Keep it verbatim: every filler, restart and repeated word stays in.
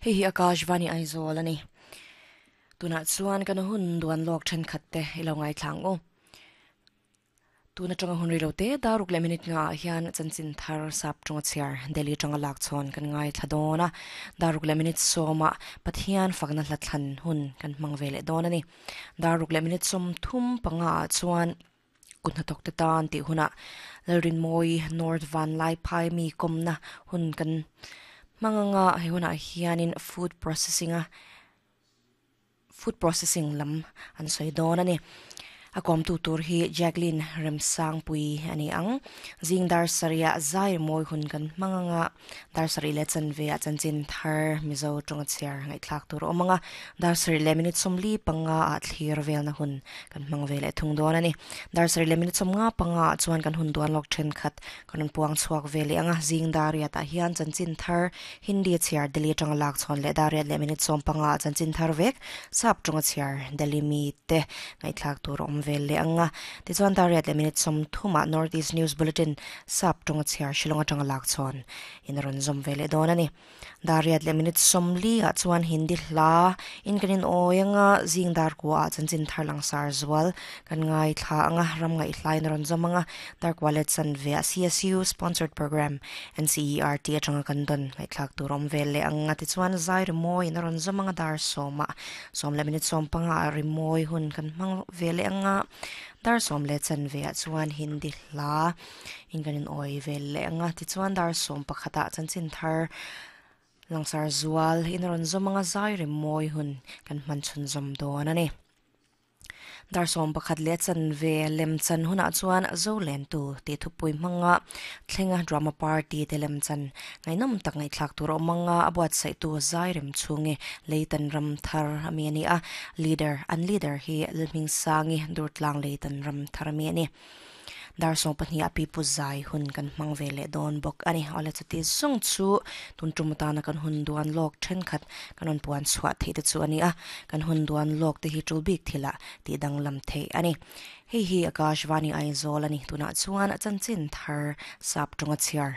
Hei hi Akashvani Aizawl ani. Tunah chuan kan hun duan lawk thenkhat te ilo ngai thlang u. Tuna tanga hun rilo te daruk le minute nga hian chanchin thar sap tonga chiar Delhi tanga lak chon kan ngai thladona daruk le minute soma Pathian fakna hlathan hun kan mangvele don ani. Daruk le minute som thum panga chuan kunna tok te tan ti huna lalrin moi North Van Lai Phai mi komna hun kan manganga he huna hianin food processing a food processing lam an soi don ani. A kom tu tur hi Jacqueline Remsang pui ani ang zing dar saria zai moi hun kan manganga dar sari le chan ve a chanchin thar Mizo tonga chiar ngai thlak tur omanga dar sari le minute somli panga a thlir vel na hun kan mang ve le thung don ani. Dar sari le minute somnga panga chuan kan hun duan lok then khat kan puang chuak ve le anga zing dar ya ta hian chanchin thar Hindi chiar Delhi tonga lak chon le dar le minute som panga chanchin thar vek sap tonga chiar Delhi mi te ngai thlak tur om vel le anga ti chuan dar riat le minute som thuma North East News Bulletin sap tonga chiar Shillong atanga lak chon in ron zom vele don ani. Dar riat le minute som li a chuan Hindi hla in kanin oyanga zing dar kwa chanchin thar lang sar zwal kan ngai thla anga ram ngai hlai in ron zom anga dar kwa let chan ve a C S U sponsored program N C E R T atanga kan don ngai thlak turom vel le anga ti chuan zai moi in ron zom anga dar soma som le minute som panga ri moi hun kan mang vele anga dar som le chan ve a chuan Hindi hla in kanin oi vel le anga ti chuan dar som pakhata chanchin thar langsar zual in ron zomanga zai ri moi hun kan man chun zom don ani. Dar som pakhat le chan ve lem chan huna chuan zo len tu ti thupui manga thlenga drama party te lem chan ngai nam tak ngai thlak tur omanga abuat sai tu zai rem chunge leitan ram thar ami ani a leader an leader hi lming sangi durtlang leitan ram thar ami ani. Dar song pahnih a pi pu zai hun kan hmang ve leh dawn bawk ani. Awle chuti zawng chu tun tum atana kan hun duan lawk thenkhat kan rawn puan chhuah theih te chu ani a. Kan hun duan lawk te hi tul bik thila tih danglam theih ani. Hei hi Akashvani Aizawl ani. Tunah chuan a chanchin thar sap tonga chhiar.